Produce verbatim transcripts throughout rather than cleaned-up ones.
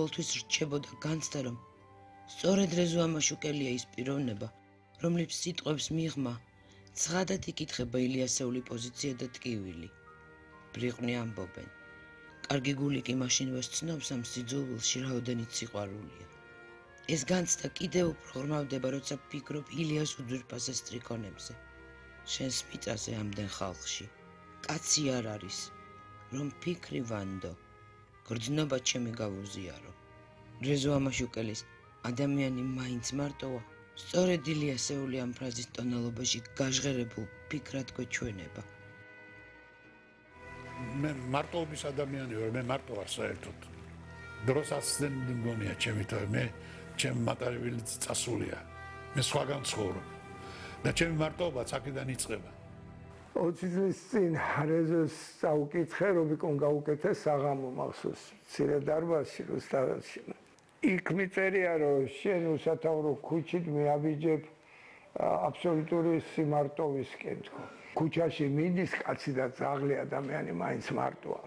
ყოველთვის რჩებოდა განცდა, რომ სწორედ რეზო ამაშუკელია ის პიროვნება, რომლის სიტყვებს მიღმა ცხადად იკითხება ილიასეული პოზიცია და ტკივილი. ბრიყვნი ამბობენ. კარგი გული კი მაშინ ვესცნობს ამ სიძულვილში რაოდენიც სიყვარულია. ეს განცდა კიდევ უფრო ღრმავდება, როცა ფიქრობ ილიას უძვირფასეს სტრიქონებზე. შენს მიწაზე ამდენ ხალხში. კაცი არ არის, რომ ფიქრი ვანდო. გრძნობა ჩემი გავუზიარო. რეზო ამაშუკელის ადამიანი მაინც მარტოა. სწორედ ილიასეული ამ ფრაზის ტონალობაში გაჟღერებულ ფიქრად გვეჩვენება. მე მარტოობის ადამიანი ვარ, მე მარტო ვარ საერთოდ. დროს ასწენ მგონია ჩემი თავი, მე ჩემი მატარებელი წასულია. მე სხვაგან ცხოვრობ. და ჩემი მარტოობა აქედან იწყება. ოცი წლის წინ რეზოს წაუკითხე, რობიკონ გაუკეთე საღამო მახსოვს, მცირე დარბაზში, რუსთაველში. იქ მიწერია, რომ შენ უსათაურო ქუჩით მეაბიჯებ აბსოლუტური სიმარტოვისკენ თქო. ქუჩაში მიდის კაცი და ძაღლი ადამიანი მაინც მარტოა.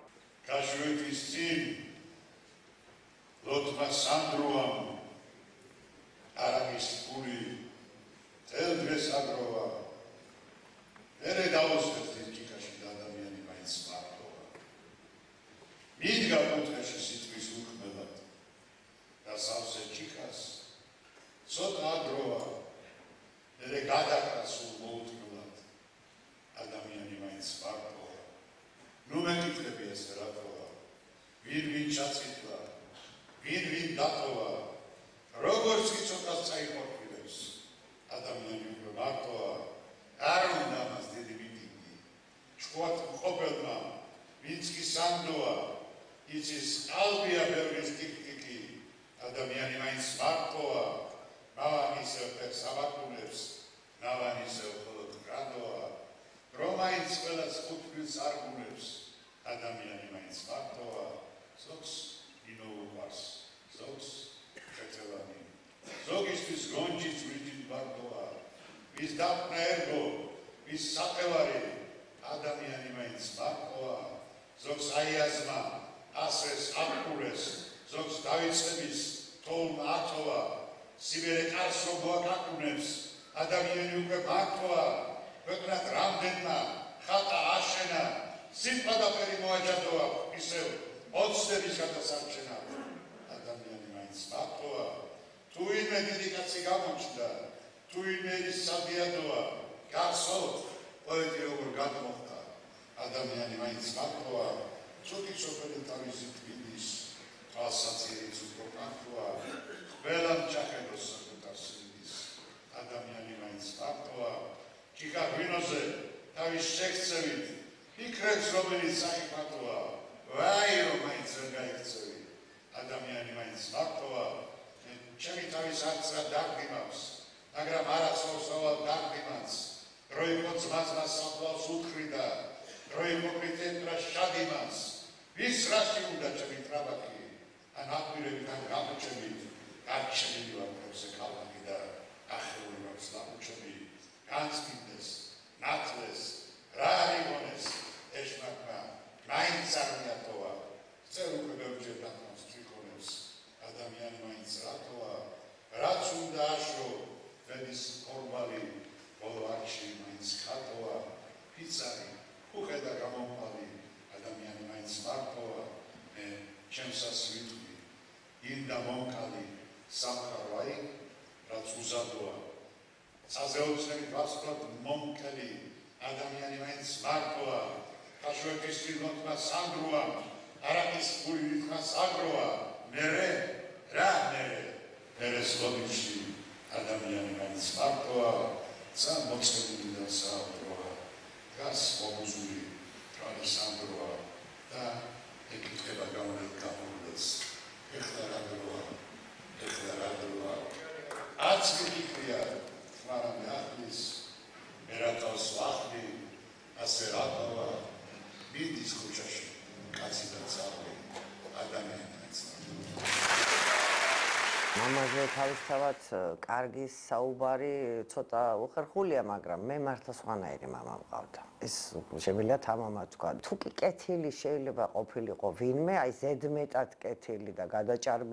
გაშვეთის წინ ლოთმა სანდროამ არაგის ფული თელდრეს აგროვა. ერე დაუსწრებს ის ჭიქაში და ადამიანი მაინც მარტოა. მიდგა კუთხეში სიტყვის უხმელად და სავსე ჭიქას ცოტა აგროვა. ერე გადაკრა სულ მოუთმელად ადამიანი მაინც მარტოა. ნუ მეკითხები ეს რატოა? ვინ ვინ ჩაწითლა? ვინ ვინ დატოვა? როგორც იცოდას წაიხორფილებს ადამიანი უფრო მარტოა. არ უნდა მას დიდი მიტინგი. ჭკვათ მყოფელმა ვინც კი სანდოა იცის ყალბია ბევრის ტიკტიკი. ადამიანი მაინც მარტოა. მავან ისევ ფერს აბაკუნებს, ნავან ისევ მხოლოდ გრადოა. რომ მაინც ყველას ხუთბილს არგუნებს, ადამიანი მაინც მარტოა. ზოგს ინოუყვარს, ზოგს ხეთელანი, ზოგისთვის გონჯიც ვრიჯით მარტოა. ვის დაფნა ერგო, ვის საყევარი, ადამიანი მაინც მარტოა. ზოგს აიაზმა, ასრეს აკურეს, ზოგს დავიწყების თოვლმა ათოვა. სიბერე კარს რო გვაკაკუნებს, ადამიანი უკვე მარტოა. ქვეყნად რამდენმა ხატა აშენა, სიტყვა და ფერი მოაჯადოა, ისევ ოცნების გადასარჩენა. ადამიანი მაინც მარტოა. თუ ვინმე დიდი კაცი გამოჩნდა, თუ ვინმე ის სადიადოა, გახსოვთ პოეტი როგორ გადმოხდა. ადამიანი მაინც მარტოა. ცოტი სოფელი თავისი თბილის, თვალსაცირიც უფრო მარტოა. ყველამ ჩახედოს საკუთარ სიდის. ადამიანი მაინც მარტოა. ჭიქა ღვინოზე თავის შექცევით ფიქრებს რომელიც საიხმატოა. ვაი რომ მაინც ვერ გაიქცევი. ადამიანი მაინც მარტოა. ჩემი თავის არცრა დარდი მაქვს, მაგრამ არ ახსოვსავალ დარდი მას. რო იყო ძმაძმა საფლავს უთხრიდა, რო იყო პრიტენდრა შადი მას. ვის რაში უნდა ჩემი ტრაბაკი? ან აკვირებით ან გამოჩებით, გარჩენილი ვარ პროზე ქალაქი და ახეული მაქვს ლამუჩები. განცდიდეს, ნათლეს, რა არიგონეს, ეშმაკმა, მაინც არ მიატოვა. წერ უკვე ბევრჯერ დათმობს ტრიქონებს, ადამიანი მაინც რატოა. რაც უნდა აშო, ვენის ფორმალი, ბოლო არჩი მაინც ხატოა. ფიცარი, უხედა გამომფალი, ადამიანი მაინც მარტოა. მე ჩემსას ვიტყვი, ინდა მომკალი, სამყარო აი, რაც უზადოა. საზეოცნები ვასწროთ მომკელი, ადამიანი მაინც მარტოა. ხაშვეთის წილოთმა სანდროა, არაკის ფული ვითმა საგროა. მერე, რა მერე, მერე სლობიში, ადამიანი მაინც მარტოა. ცა მოწყებული და საუბროა. გას მომუზული, თვალი სანდროა და ეკითხება გამორეთ გამორეთს. ეხლა რა დროა, ეხლა რა დროა. არც მიფიქრია, მაგრამ ახლის მერატავს ვახდი, ასე რატოა. მიდის ქუჩაში, კაცი და ძაღლი, ადამიანიც. მამაზე თავისთავად კარგი საუბარი ცოტა უხერხულია, მაგრამ მე მართლა სხვანაირი მამა მყავდა. ეს შემიძლია თამამად თქვა. თუ კი კეთილი შეიძლება ყოფილიყო ვინმე, აი ზედმეტად კეთილი და გადაჭარბებული